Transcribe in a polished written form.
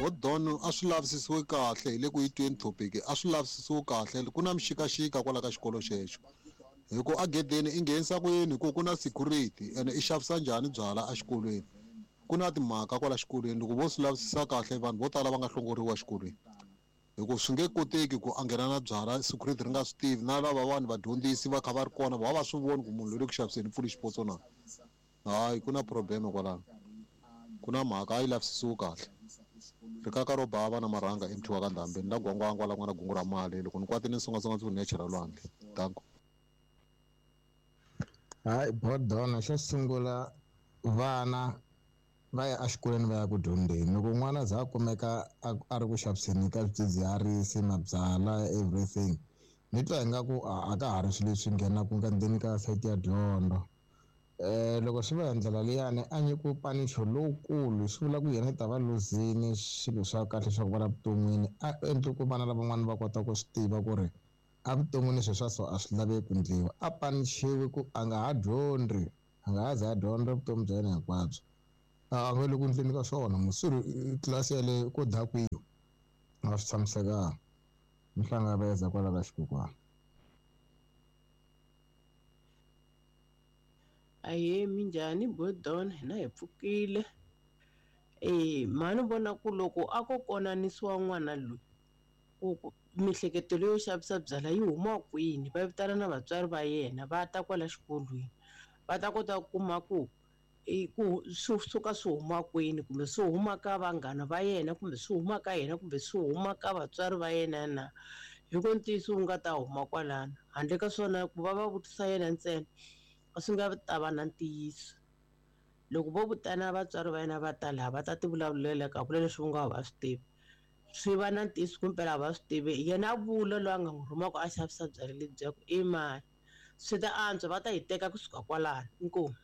Bodon a swi lavisisiwe kahle hi le ku yi tweni topic a swi lavisisiwe kahle ku na mixikaxika kwala ka xikolo xexo hi ku egedeni i nghenisa ku yini hi ku ku na security ene i xavisa njhani byala exikolweni ku na timhaka kwala xikolweni loko vo swi lavisisa kahle vanhu vo tala va nga hlongoriwa exikolweni hi ku swi nge koteki ku a nghena na byala security ri nga swi tivi na lava vanhu vadyondzisi va kha va ri kona va va swi voni ku munhu loyi le ku xaviseni pfuli xipotso na hayi ku na problem kwalano ku na mhaka a yi lavisisiwi kahle rikaka ro bava na marhanga emthiwa ka ndhambi ni la gwangwangwa la ku nga na gungu ra mali loko ni kwatile ni songasonga ndzi ku ni ya chela lwandle danko. Hayi bodona xo sungula vana va ya exikolweni va ya ku dyondzeni loko n'wana za a kumeka a ri ku xaviseni ka swidzidziharisi mabyalwa everything ni twa ingaku a ka ha ri swilo leswi nghenaka ka ndzeni ka sayiti ya dyondzo. Loko swi va hi ndlela liyani a nyikiwe panicho lowukulu swi vula ku yena i ta va luzini swilo swa kahle swa ku va la vuton'wini a endli ku vana lavan'wana va kota ku swi tiva ku ri evuton'wini swilo swa so a swi laveki ku ndliwa a panichiwe ku a nga ha dyondzi a nga ha za a dyondza vutomi bya yena hinkwabyo a nga le ku ndleni ka swona musuri tlilasi yaleyo ko dakwiwa a swi tshamisekanga mi hlangaveza kwala ka xikokwani. Ahee, minjhani Bodon hina hi pfukile. Mhani vona ku loko a ko konanisiwa n'wana loyi ku miehleketo leyo xavisa byalwa yi huma kwini va vitana na vatswari va yena va ta kwala xikolweni va ta kota ku kuma ku i ku swi suka swi huma kwini kumbe swi huma ka vanghana va yena kumbe swi huma ka yena kumbe swi huma ka vatswari va yena na hi ku ntiyiso wu nga ta huma kwalano handle ka swona ku va va vutisa yena ntsena a swi nga ta va na ntiyiso loko vo vutana vatswari va yena va ta laha va ta ti vulavulela ka vula leswi va nga va swi tivi swi va na ntiyiso kumpela a va swi tivi yena vula loyi a nga n'wi rhumaka a xavisa byalwa lebyi ku i mani swi ta antswa va ta yi teka kusuka kwalano inkomu.